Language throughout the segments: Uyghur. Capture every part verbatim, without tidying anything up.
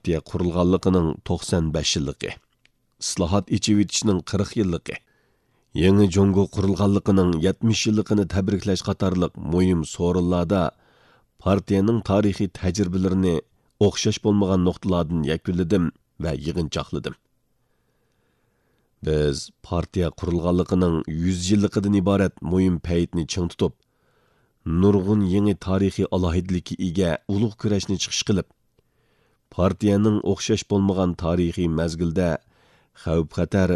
پارتىيە قۇرۇلغانلىقىنىڭ توقسان بەش يىللىقى، ئىسلاھات، ئېچىۋېتىشنىڭ قىرىق يىللىقى، يېڭى جۇڭگو قۇرۇلغانلىقىنىڭ يەتمىش يىللىقىنى تەبرىكلەش قاتارلىق مۇھىم سورۇنلاردا پارتىيەنىڭ تارىخىي تەجرىبىلىرىنى ئوخشاش بولمىغان نۇقتىلاردىن يەكۈنلىدىم ۋە يىغىنچاقلىدىم. بىز پارتىيە قۇرۇلغانلىقىنىڭ يۈز يىللىقىدىن ئىبارەت مۇھىم پەيتنى چىڭ تۇتۇپ، نۇرغۇن يېڭى تارىخىي ئالاھىدىلىككە ئىگە ئۇلۇغ كۈرەشنى چىقىش قىلىپ، پارتىيەنىڭ ئوخشاش بولمىغان تارىخىي مەزگىلدە خەۋپ-خەتەر،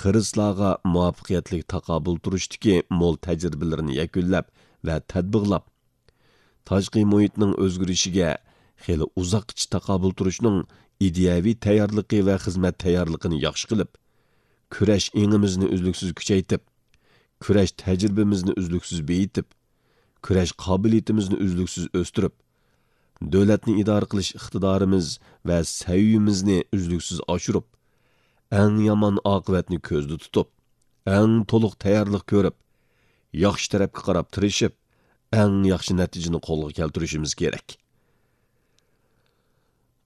خىرىسلارغا مۇۋەپپەقىيەتلىك تاقابىل تۇرۇشتىكى مول تەجرىبىلىرىنى يەكۈنلەپ ۋە تەتبىقلاپ، تاشقى مۇھىتنىڭ ئۆزگىرىشىگە خېلى ئۇزاققىچە تاقابىل تۇرۇشنىڭ ئىدىيەۋى تەييارلىقى ۋە خىزمەت تەييارلىقىنى ياخشى قىلىپ، كۈرەش ئېڭىمىزنى ئۈزلۈكسىز كۈچەيتىپ، كۈرەش تەجرىبىمىزنى ئۈزلۈكسىز بېيىتىپ، كۈرەش قابىلىيىتىمىزنى ئۈزلۈكسىز ئۆستۈرۈپ، دۆلەتنى ئىدارە قىلىش ئىقتىدارىمىز ۋە سەۋىيىمىزنى ئۈزلۈكسىز ئاشۇرۇپ، ئەڭ يامان ئاقىۋەتنى كۆزدە تۇتۇپ، ئەڭ تولۇق تەييارلىق كۆرۈپ، ياخشى تەرەپكە قاراپ تىرىشىپ، ئەڭ ياخشى نەتىجىنى قولغا كەلتۈرۈشىمىز كېرەك.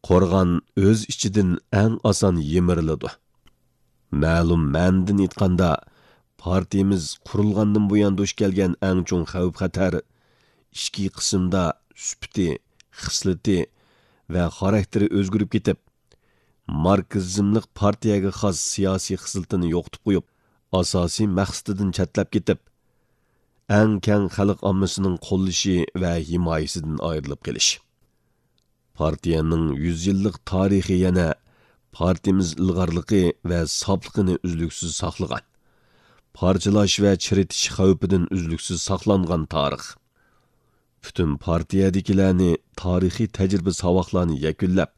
قورغان ئۆز ئىچىدىن ئەڭ ئاسان يىمىرىلىدۇ. مەلۇم مەنىدىن ئېيتقاندا، پارتىيىمىز قۇرۇلغاندىن بۇيان دۇچ كەلگەن ئەڭ چوڭ خەۋپ-خەتەر ئىچكى قىسىمدا سۈپىتى، خىسلىتى ۋە خاراكتېرى ئۆزگىرىپ كېتىپ، ماركسىزملىق پارتىيەگە خاس سىياسىي خىسلىتىنى يوقىتىپ قويۇپ، ئاساسىي مەقسىتىدىن چەتلەپ كېتىپ، ئەڭ كەڭ خەلق ئاممىسىنىڭ قوللىشى ۋە ھىمايىسىدىن ئايرىلىپ قېلىش. پارتىيەنىڭ يۈز يىللىق تارىخى يەنە پارتىيىمىز ئىلغارلىقى ۋە ساپلىقىنى ئۈزلۈكسىز ساقلىغان، پارچىلاش ۋە چىرىتىش خەۋپىدىن ئۈزلۈكسىز ساقلانغان تارىخ. پۈتۈن پارتىيەدىكىلەرنى تارىخىي تەجرىبە ساۋاقلارنى يەكۈنلەپ،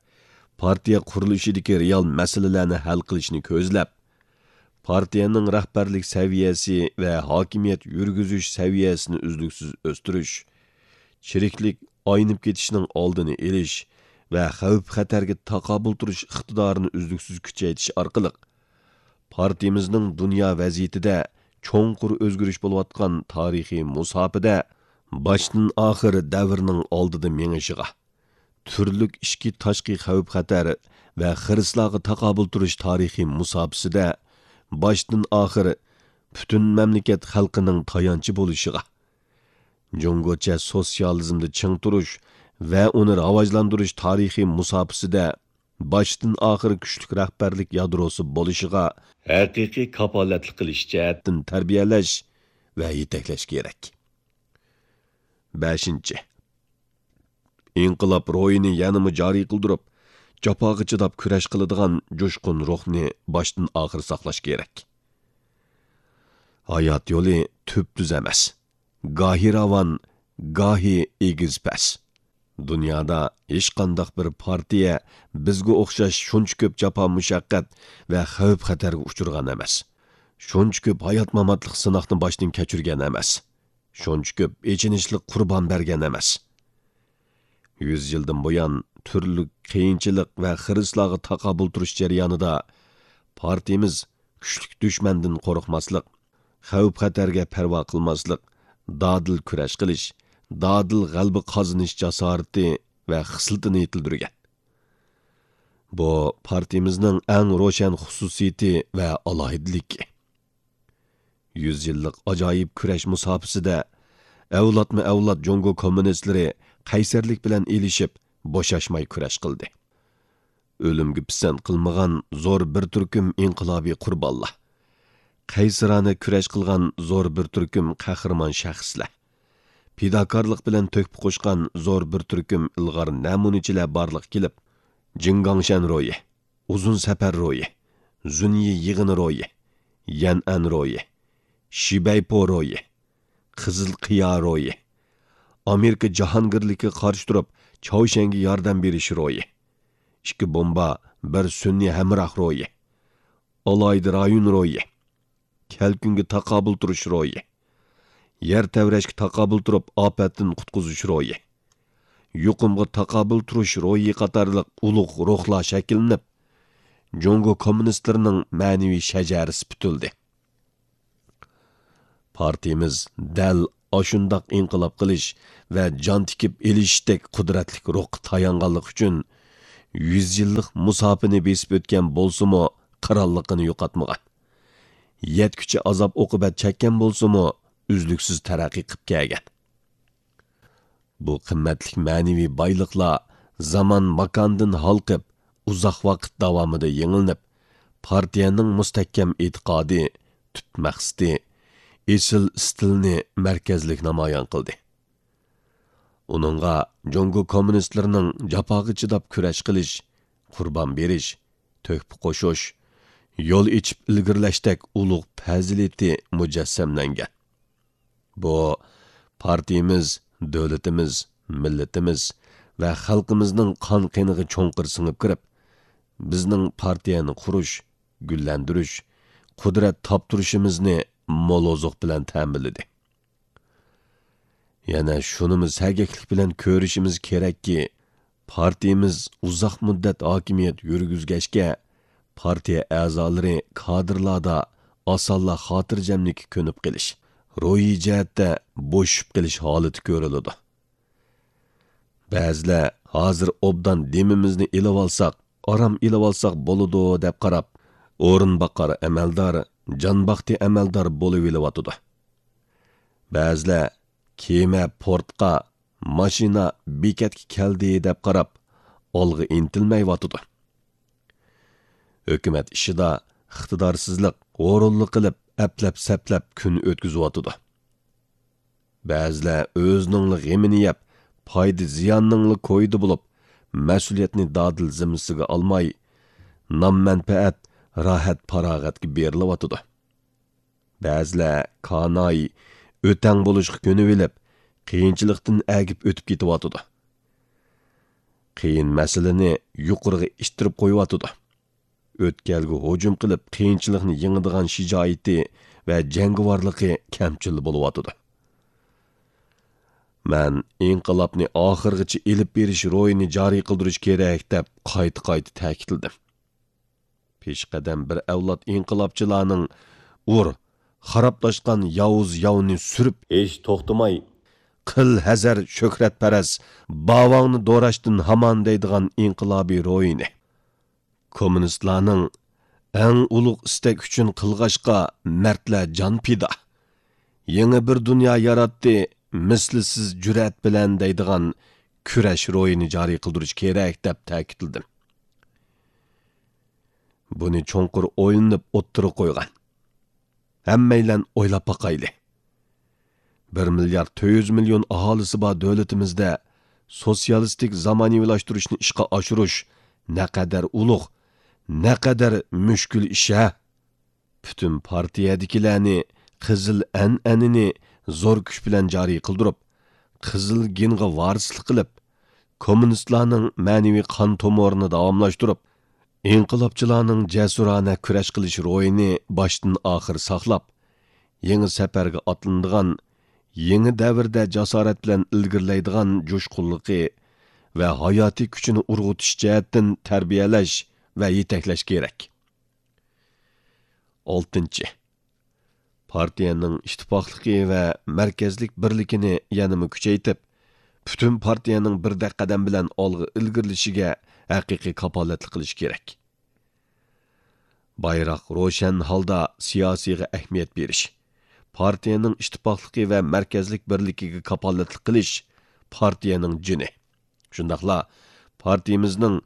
پارتىيە قۇرۇلۇشىدىكى رېئال مەسىلىلەرنى ھەل قىلىشنى كۆزلەپ، پارتىيەنىڭ رەھبەرلىك سەۋىيەسى ۋە ھاكىمىيەت يۈرگۈزۈش سەۋىيەسىنى ئۈزلۈكسىز ئۆستۈرۈش، چىرىكلىك، ئاينىپ كېتىشنىڭ ئالدىنى ئېلىش ۋە خەۋپ-خەتەرگە تاقابىل تۇرۇش ئىقتىدارىنى ئۈزلۈكسىز كۈچەيتىش ئارقىلىق، پارتىيىمىزنىڭ دۇنيا ۋەزىيىتىدە چوڭقۇر ئۆزگىرىش بولۇۋاتقان تارىخىي مۇساپىدە باشتىن ئاخىر دەۋرنىڭ ئالدىدا مېڭىشىغا، تۈرلۈك ئىچكى تاشقى خەۋپ-خەتەر ۋە خىرىسلارغا تاقابىل تۇرۇش تارىخىي مۇساپىسىدە باشتىن ئاخىر پۈتۈن مەملىكەت خەلقىنىڭ تايانچى بولۇشىغا، جۇڭگوچە سوتسىيالىزمدا چىڭ تۇرۇش ۋە ئۇنى راۋاجلاندۇرۇش تارىخىي مۇساپىسىدە باشتىن ئاخىر كۈچلۈك رەھبەرلىك يادروسى بولۇشىغا ھەقىقىي كاپالەتلىك قىلىش جەھەتتىن تەربىيەلەش ۋە يېتەكلەش كېرەك. بەشىنچى، ئىنقىلاب روھىنى يەنىمۇ جارى قىلدۇرۇپ، جاپاغا چىداپ كۈرەش قىلىدىغان جۇشقۇن روھنى باشتىن ئاخىر ساقلاش كېرەك. ھايات يولى تۈپتۈز ئەمەس. گاھى راۋان، گاھى ئېگىز-پەس. دۇنيادا ھېچقانداق بىر پارتىيە بىزگە ئوخشاش شۇنچە كۆپ جاپا-مۇشەققەت ۋە خەۋپ-خەتەرگە ئۇچرىغان ئەمەس. شۇنچە كۆپ ھايات-ماماتلىق سىناقنى باشتىن كەچۈرگەن ئەمەس. شۇنچە كۆپ ئېچىنىشلىق قۇربان بەرگەن ئەمەس. يۈز يىلدىن بۇيان تۈرلۈك قىيىنچىلىق ۋە خىرىسلارغا تاقابىل تۇرۇش جەريانىدا پارتىيىمىز كۈچلۈك دۈشمەندىن قورقماسلىق، خەۋپ-خەتەرگە پەرۋا قىلماسلىق، دادىل كۈرەش قىلىش، دادىل غەلىبە قازىنىش جاسارىتى ۋە خىسلىتىنى يېتىلدۈرگەن. بۇ پارتىيىمىزنىڭ ئەڭ روشەن خۇسۇسىيىتى ۋە ئالاھىدىلىكى. يۈز يىللىق ئاجايىپ كۈرەش مۇساپىسىدە ئەۋلادمۇ ئەۋلاد جۇڭگو كوممۇنىستلىرى قەيسەرلىك بىلەن ئېلىشىپ، بوشاشماي كۈرەش قىلدى. ئۆلۈمگە پىسەنت قىلمىغان زور بىر تۈركۈم ئىنقىلابىي قۇربانلار، قەيسىرانە كۈرەش قىلغان زور بىر تۈركۈم قەھرىمان شەخسلەر، پىداكارلىق بىلەن تۆھپە قوشقان زور بىر تۈركۈم ئىلغار نەمۇنىچىلەر بارلىققا كېلىپ، جىڭگاڭشەن روھى، ئۇزۇن سەپەر روھى، زۇنيى يىغىنى روھى، يەنئەن روھى، شىبەيپو روھى، قىزىل قىيا روھى، ئامېرىكا جاھانگىرلىكىگە قارشى تۇرۇپ، چاۋشيەنگە ياردەم بېرىش روھى، ئىككى بومبا، بىر سۈنئىي ھەمراھ روھى، ئالاھىدە رايون روھى، كەلكۈنگە تاقابىل تۇرۇش روھى، يەر تەۋرەشكە تاقابىل تۇرۇپ، ئاپەتتىن قۇتقۇزۇش روھى، يۇقۇمغا تاقابىل تۇرۇش روھى قاتارلىق ئۇلۇغ روھلار شەكىللىنىپ، جۇڭگو كوممۇنىستلىرىنىڭ مەنىۋى شەجەرىسى پۈتۈلدى. پارتىيىمىز دەل ئاشۇنداق ئىنقىلاب قىلىش ۋە جان تىكىپ ئېلىشتەك قۇدرەتلىك روھقا تايانغانلىقى ئۈچۈن، يۈز يىللىق مۇساپىنى بېسىپ ئۆتكەن بولسىمۇ، قىرانلىقىنى يوقاتمىغان. يەتكۈچە ئازاب-ئوقۇبەت چەككەن بولسىمۇ، ئۈزلۈكسىز تەرەققىي قىپ كەلگەن. بۇ قىممەتلىك مەنىۋى بايلىقلار زامان-ماكاندىن ھالقىپ، ئۇزاق ۋاقىت داۋامىدا يېڭىلىنىپ، پارتىيەنىڭ مۇستەھكەم ئېتىقادى، تۈپ مەقسىتى، ئېسىل ئىستىلىنى مەركەزلىك نامايان قىلدى. ئۇنىڭغا جۇڭگو كوممۇنىستلىرىنىڭ جاپاغا چىداپ كۈرەش قىلىش، قۇربان بېرىش، تۆھپە قوشۇش، يول ئېچىپ ئىلگىرىلەشتەك ئۇلۇغ پەزىلىتى مۇجەسسەملەنگەن. بۇ، پارتىيىمىز، دۆلىتىمىز، مىللىتىمىز ۋە خەلقىمىزنىڭ قان قېنىغا چوڭقۇر سىڭىپ كىرىپ، بىزنىڭ پارتىيەنى قۇرۇش، گۈللەندۈرۈش، قۇدرەت تاپتۇرۇشىمىزنى مول ئوزۇق بىلەن تەمىنلىدى. يەنە شۇنىمۇ سەگەكلىك بىلەن كۆرۈشىمىز كېرەككى، پارتىيىمىز ئۇزاق مۇددەت ھاكىمىيەت يۈرگۈزگەچكە، پارتىيە ئەزالىرى، كادىرلاردا ئاسانلا خاتىرجەملىككە كۆنۈپ قېلىش، روھىي جەھەتتە بوشىشىپ قېلىش ھالىتى كۆرۈلىدۇ. بەزىلەر ھازىر ئوبدان دېمىمىزنى ئېلىۋالساق، ئارام ئېلىۋالساق بولىدۇ دەپ قاراپ، ئورۇنباقار ئەمەلدار، جانباختى ئەمەلدار بولۇۋېلىۋاتىدۇ. بەزىلەر كېمە پورتقا، ماشىنا بېكەتكە كەلدى دەپ قاراپ، ئالغا ئىنتىلمەيۋاتىدۇ. ھۆكۈمەت ئىشىدا ئىقتىدارسىزلىق، ھۇرۇنلۇق قىلىپ، ئەپلەپ-سەپلەپ كۈن ئۆتكۈزۈۋاتىدۇ. بەزىلەر ئۆزىنىڭلا غېمىنى يەپ، پايدا-زىياننىڭلا كويىدا بولۇپ، مەسئۇلىيەتنى دادىل زىممىسىگە ئالماي، نام-مەنپەئەت، راھەت-پاراغەتكە بېرىلىۋاتىدۇ. بەزىلەر كاناي، ئۆتەڭ بولۇشقا كۆنۈۋېلىپ، قىيىنچىلىقتىن ئەگىپ ئۆتۈپ كېتىۋاتىدۇ. قىيىن مەسىلىنى يۇقىرىغا ئىتتىرىپ قويۇۋاتىدۇ. ئۆتكەلگە ھۇجۇم قىلىپ، قىيىنچىلىقنى يېڭىدىغان شىجائىتى ۋە جەڭگىۋارلىقى كەمچىل بولۇۋاتىدۇ. مەن ئىنقىلابنى ئاخىرغىچە ئېلىپ بېرىش روھىنى جارى قىلدۇرۇش كېرەك، دەپ قايتا-قايتا تەكىتلىدىم. پېشقەدەم بىر ئەۋلاد ئىنقىلابچىلارنىڭ «ئۇر، خارابلاشقان ياۋۇز ياۋنى سۈرۈپ ھېچ توختىماي، قىل ھەزەر شۆھرەتپەرەس، باۋاڭنى دوراشتىن ھامان» دەيدىغان ئىنقىلابىي روھىنى، كوممۇنىستلارنىڭ «ئەڭ ئۇلۇغ ئىستەك ئۈچۈن قىلغاچقا مەردلەر جان پىدا، يېڭى بىر دۇنيا ياراتتى مىسلىسىز جۈرئەت بىلەن» دەيدىغان كۈرەش روھىنى جارى قىلدۇرۇش كېرەك، دەپ تەكىتلىدىم. بۇنى چوڭقۇر ئويلىنىپ ئوتتۇرىغا قويغان. ھەممەيلەن ئويلاپ باقايلى. بىر مىليارد تۆت يۈز مىليون ئاھالىسى بار دۆلىتىمىزدە سوتسىيالىستىك زامانىۋىلاشتۇرۇشنى ئىشقا ئاشۇرۇش نەقەدەر ئۇلۇغ، نەقەدەر مۈشكۈل ئىش ھە! پۈتۈن پارتىيەدىكىلەرنى قىزىل ئەنئەنىنى زور كۈچ بىلەن جارى قىلدۇرۇپ، قىزىل گېنغا ۋارىسلىق قىلىپ، كوممۇنىستلارنىڭ مەنىۋى قان تومۇرىنى داۋاملاشتۇرۇپ، ئىنقىلابچىلارنىڭ جەسۇرانە كۈرەش قىلىش روھىنى باشتىن ئاخىر ساقلاپ، يېڭى سەپەرگە ئاتلىنىدىغان، يېڭى دەۋردە جاسارەت بىلەن ئىلگىرىلەيدىغان جۇشقۇنلۇقى ۋە ھاياتىي كۈچىنى ئۇرغۇتۇش جەھەتتىن تەربىيەلەش ۋە يېتەكلەش كېرەك. ئالتىنچى، پارتىيەنىڭ ئىتتىپاقلىقى ۋە مەركەزلىك بىرلىكىنى يەنىمۇ كۈچەيتىپ، پۈتۈن پارتىيەنىڭ بىردەك قەدەم بىلەن ئالغا ئىلگىرىلىشىگە ھەقىقىي كاپالەتلىك قىلىش كېرەك. بايراق روشەن ھالدا سىياسىيغا ئەھمىيەت بېرىش، پارتىيەنىڭ ئىتتىپاقلىقى ۋە مەركەزلىك بىرلىكىگە كاپالەتلىك قىلىش پارتىيەنىڭ جېنى. شۇنداقلا پارتىيىمىزنىڭ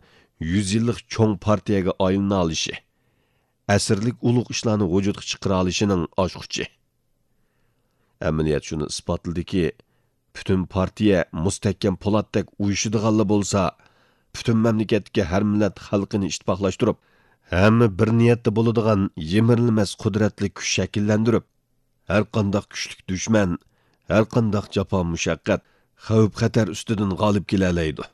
يۈز يىللىق چوڭ پارتىيەگە ئايلىنالىشى، ئەسىرلىك ئۇلۇغ ئىشلارنى ۋۇجۇدقا چىقىرالىشىنىڭ ئاچقۇچى. ئەمەلىيەت شۇنى ئىسپاتلىدىكى، پۈتۈن پارتىيە مۇستەھكەم پولاتتەك ئۇيۇشىدىغانلا بولسا، پۈتۈن مەملىكەتتىكى ھەر مىللەت خەلقىنى ئىتتىپاقلاشتۇرۇپ، ھەممە بىر نىيەتتە بولىدىغان يىمىرىلمەس قۇدرەتلىك كۈچ شەكىللەندۈرۈپ، ھەرقانداق كۈچلۈك دۈشمەن، ھەرقانداق جاپا-مۇشەققەت، خەۋپ-خەتەر ئۈستىدىن غالىب كېلەلەيدۇ.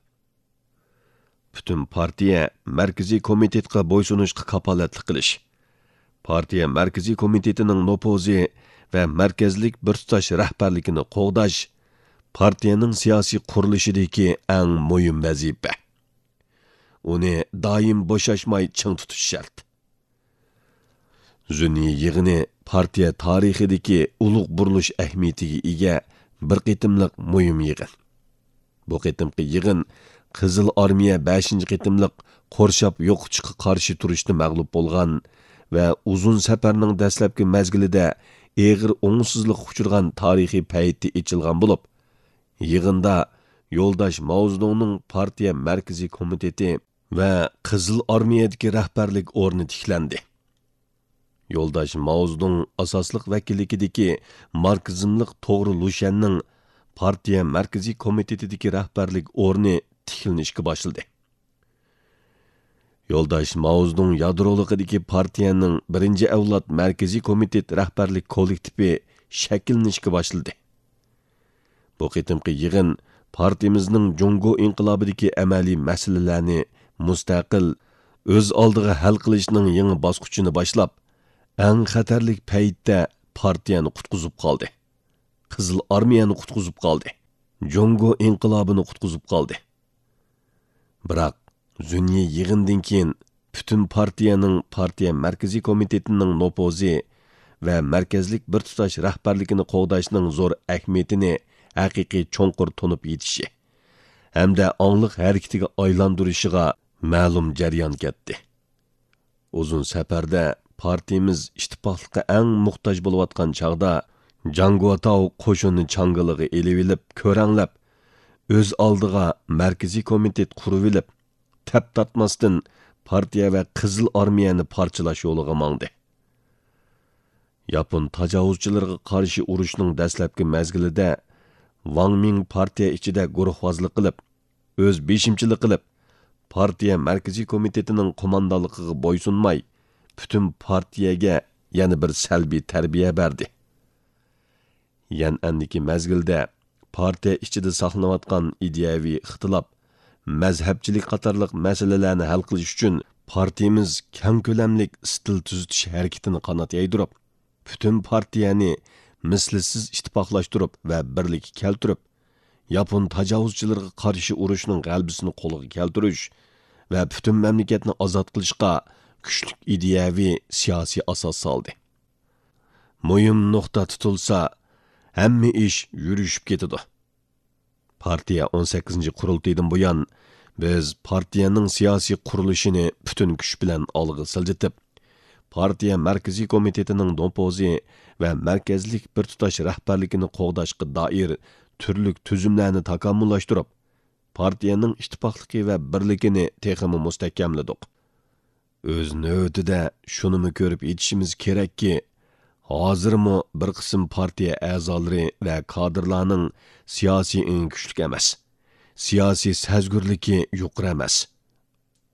پۈتۈن پارتىيە مەركىزىي كومىتېتقا بويسۇنۇشقا كاپالەتلىك قىلىش، پارتىيە مەركىزىي كومىتېتىنىڭ نوپۇزى ۋە مەركەزلىك بىر تۇتاش رەھبەرلىكىنى قوغداش پارتىيەنىڭ سىياسىي قۇرۇلۇشىدىكى ئەڭ مۇھىم ۋەزىپە. ئۇنى دائىم بوشاشماي چىڭ تۇتۇش شەرت. زۇننى يىغىنى پارتىيە تارىخىدىكى ئۇلۇغ بۇرۇلۇش ئەھمىيىتىگە ئىگە بىر قېتىملىق مۇھىم يىغىن. بۇ قېتىمقى يىغىن قىزىل ئارمىيە بەشىنچى قېتىملىق قورشاپ يوقىتىشقا قارشى تۇرۇشتا مەغلۇپ بولغان ۋە ئۇزۇن سەپەرنىڭ دەسلەپكى مەزگىلىدە ئېغىر ئوڭۇشسىزلىققا ئۇچرىغان تارىخىي پەيتتە ئېچىلغان بولۇپ، يىغىندا يولداش ماۋزېدۇڭنىڭ پارتىيە مەركىزىي كومىتېتى ۋە قىزىل ئارمىيەدىكى رەھبەرلىك ئورنى تىكلەندى. يولداش ماۋزېدۇڭ ئاساسلىق ۋەكىللىكىدىكى ماركسىزملىق توغرا لۇشيەننىڭ پارتىيە مەركىزىي كومىتېتىدىكى رەھبەرلىك ئورنى تىكلىنىشكە باشلىدى. يولداش ماۋزېدۇڭ يادرولۇقىدىكى پارتىيەنىڭ بىرىنچى ئەۋلاد مەركىزىي كومىتېت رەھبەرلىك كوللېكتىپى شەكىللىنىشكە باشلىدى. بۇ قېتىمقى يىغىن پارتىيىمىزنىڭ جۇڭگو ئىنقىلابىدىكى ئەمەلىي مەسىلىلەرنى مۇستەقىل، ئۆز ئالدىغا ھەل قىلىشنىڭ يېڭى باسقۇچىنى باشلاپ، ئەڭ خەتەرلىك پەيتتە پارتىيەنى قۇتقۇزۇپ قالدى. قىزىل ئارمىيەنى قۇتقۇزۇپ قالدى. جۇڭگو ئىنقىلابىنى قۇتقۇزۇپ قالدى. بىراق، زۈننى يىغىندىن كېيىن پۈتۈن پارتىيەنىڭ پارتىيە مەركىزىي كومىتېتىنىڭ نوپۇزى ۋە مەركەزلىك بىر تۇتاش رەھبەرلىكىنى قوغداشنىڭ زور ئەھمىيىتىنى ھەقىقىي چوڭقۇر تونۇپ يېتىشى ھەمدە ئاڭلىق ھەرىكىتىگە ئايلاندۇرۇشىغا مەلۇم جەريان كەتتى. ئۇزۇن سەپەردە پارتىيىمىز ئىتتىپاقلىققا ئەڭ موھتاج بولۇۋاتقان چاغدا، جاڭ گۇاتاۋ قوشۇننى چاڭگىلىغا ئېلىۋېلىپ، كۆرەڭلەپ، ئۆز ئالدىغا مەركىزىي كومىتېت قۇرۇۋېلىپ، تەپ تارتماستىن پارتىيە ۋە قىزىل ئارمىيەنى پارچىلاش يولىغا ماڭدى. ياپون تاجاۋۇزچىلىرىغا قارشى ئۇرۇشنىڭ دەسلەپكى مەزگىلىدە، ۋاڭ مىڭ پارتىيە ئىچىدە گۇرۇھۋازلىق قىلىپ، ئۆز بېشىمچىلىق قىلىپ، پارتىيە مەركىزىي كومىتېتىنىڭ قوماندانلىقىغا بويسۇنماي، پۈتۈن پارتىيەگە يەنە بىر سەلبىي تەربىيە بەردى. يەنئەندىكى مەزگىلدە پارتىيە ئىچىدە ساقلىنىۋاتقان ئىدىيەۋى ئىختىلاپ، مەزھەپچىلىك قاتارلىق مەسىلىلەرنى ھەل قىلىش ئۈچۈن پارتىيىمىز كەڭ كۆلەملىك ئىستىل تۈزىتىش ھەرىكىتىنى قانات يايدۇرۇپ، پۈتۈن پارتىيەنى مىسلىسىز ئىتتىپاقلاشتۇرۇپ ۋە بىرلىككە كەلتۈرۈپ، ياپون تاجاۋۇزچىلىرىغا قارشى ئۇرۇشنىڭ غەلىبىسىنى قولغا كەلتۈرۈش ۋە پۈتۈن مەملىكەتنى ئازاد قىلىشقا كۈچلۈك ئىدىيەۋى، سىياسىي ئاساس سالدى. مۇھىم نۇقتا تۇتۇلسا، ھەممە ئىش يۈرۈشۈپ كېتىدۇ. پارتىيە ئون سەككىزىنچى قۇرۇلتىيىدىن بۇيان، بىز پارتىيەنىڭ سىياسىي قۇرۇلۇشىنى پۈتۈن كۈچ بىلەن ئالغا سىلجىتىپ، پارتىيە مەركىزىي كومىتېتىنىڭ نوپۇزى ۋە مەركەزلىك بىر تۇتاش رەھبەرلىكىنى قوغداشقا دائىر تۈرلۈك تۈزۈملەرنى تاكامۇللاشتۇرۇپ، پارتىيەنىڭ ئىتتىپاقلىقى ۋە بىرلىكىنى تېخىمۇ مۇستەھكەملىدۇق. ئۆز نۆۋىتىدە شۇنىمۇ كۆرۈپ يېتىشىمىز كېرەككى، ھازىرمۇ بىر قىسىم پارتىيە ئەزالىرى ۋە كادىرلارنىڭ سىياسىي ئېڭى كۈچلۈك ئەمەس، سىياسىي سەزگۈرلۈكى يۇقىرى ئەمەس.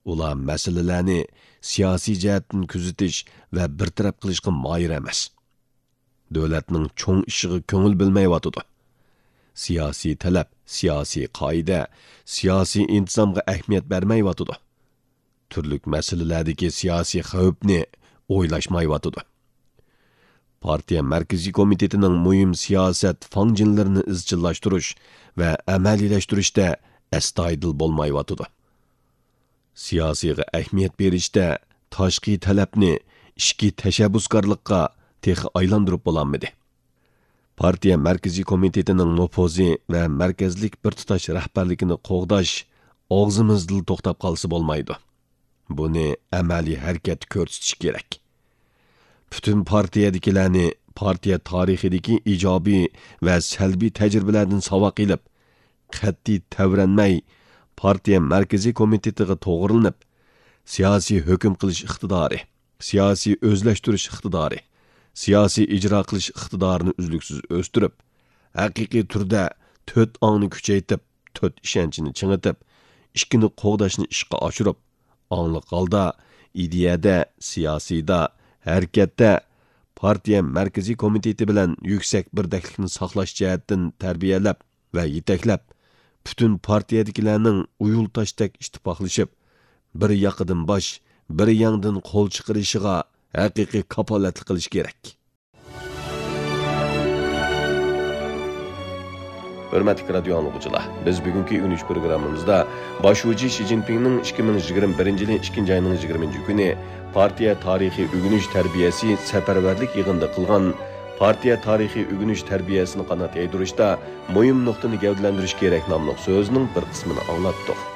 ئۇلار مەسىلىلەرنى سىياسىي جەھەتتىن كۆزىتىش ۋە بىر تەرەپ قىلىشقا ماھىر ئەمەس. دۆلەتنىڭ چوڭ ئىشىغا كۆڭۈل بۆلمەيۋاتىدۇ. سىياسىي تەلەپ، سىياسىي قائىدە، سىياسىي ئىنتىزامغا ئەھمىيەت بەرمەيۋاتىدۇ. تۈرلۈك مەسىلىلەردىكى سىياسىي خەۋپنى ئويلاشمايۋاتىدۇ. پارتىيە مەركىزىي كومىتېتىنىڭ مۇھىم سىياسەت فاڭجېنلىرىنى ئىزچىللاشتۇرۇش ۋە ئەمەلىيلەشتۈرۈشتە ئەستايىدىل بولمايۋاتىدۇ. سىياسىيغا ئەھمىيەت بېرىشتە تاشقى تەلەپنى ئىچكى تەشەببۇسكارلىققا تېخى ئايلاندۇرۇپ بولالمىدى. پارتىيە مەركىزىي كومىتېتىنىڭ نوپۇزى ۋە مەركەزلىك بىر تۇتاش رەھبەرلىكىنى قوغداش ئاغزىمىزدىلا توختاپ قالسا بولمايدۇ. بۇنى ئەمەلىي ھەرىكەتتە كۆرسىتىش كېرەك. پۈتۈن پارتىيەدىكىلەرنى پارتىيە تارىخىدىكى ئىجابىي ۋە سەلبىي تەجرىبىلەردىن ساۋاق ئېلىپ، قەتئىي تەۋرەنمەي، پارتىيە مەركىزىي كومىتېتىغا توغرىلىنىپ، سىياسىي ھۆكۈم قىلىش ئىقتىدارى، سىياسىي ئۆزلەشتۈرۈش ئىقتىدارى، سىياسىي ئىجرا قىلىش ئىقتىدارىنى ئۈزلۈكسىز ئۆستۈرۈپ، ھەقىقىي تۈردە تۆت ئاڭنى كۈچەيتىپ، تۆت ئىشەنچنى چىڭىتىپ، ئىككىنى قوغداشنى ئىشقا ئاشۇرۇپ، ئاڭلىق ھالدا ئىدىيەدە، سىياسىيدا، ھەرىكەتتە پارتىيە مەركىزىي كومىتېتى بىلەن يۈكسەك بىردەكلىكنى ساقلاش جەھەتتىن تەربىيەلەپ ۋە يېتەكلەپ، پۈتۈن پارتىيەدىكىلەرنىڭ ئۇيۇل تاشتەك ئىتتىپاقلىشىپ، بىر ياقىدىن باش، بىر يەڭدىن قول چىقىرىشىغا ھەقىقىي كاپالەتلىك قىلىش كېرەك. ھۆرمەتلىك رادىيو ئاڭلىغۇچىلار، بىز بۈگۈنكى ئۆگىنىش پروگراممىمىزدا باش شۇجى شى جىنپىڭنىڭ ئىككى مىڭ يىگىرمە بىرىنچى يىلى ئىككىنچى ئاينىڭ يىگىرمىنچى كۈنى پارتىيە تارىخىي ئۆگىنىش تەربىيەسى سەپەرۋەرلىك يىغىنىدا قىلغان پارتىيە تارىخىي ئۆگىنىش تەربىيەسىنى قانات يايدۇرۇشتا مۇھىم نۇقتىنى گەۋدىلەندۈرۈش كېرەك ناملىق سۆزىنىڭ بىر قىسمىنى ئاڭلاتتۇق.